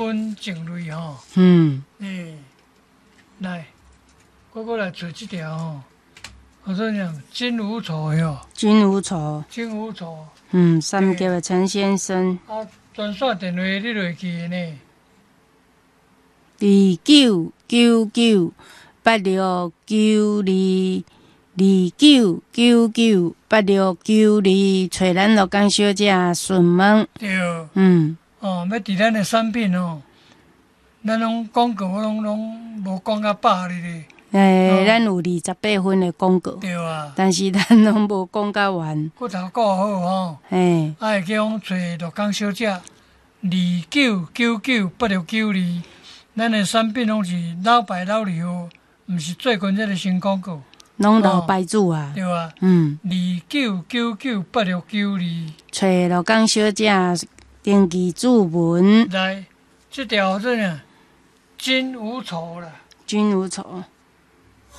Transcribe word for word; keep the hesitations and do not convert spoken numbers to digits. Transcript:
分情類吼。嗯。欸，來，我閣來揣這條吼。我說講金無愁喲。金無愁。金無愁。嗯，三峽的陳先生。啊，專線電話你落去的呢？二九九九八六九二，二九九九八六九二，揣咱鹿港小姐詢問。對。嗯。哦，欲佇咱的產品哦，咱攏廣告攏攏無講甲飽哩咧。欸，咱有二十八分的廣告。對啊。但是咱攏無講甲完。骨頭顧好吼。嘿。啊，會叫講揣鹿港小姐，二九九九八六九二，咱的產品攏是老牌老字號，毋是最近這个新廣告。攏老牌子啊。對啊。嗯。二九九九八六九二。揣鹿港小姐登記注文。來，這條做啥？金無愁啦。金無愁。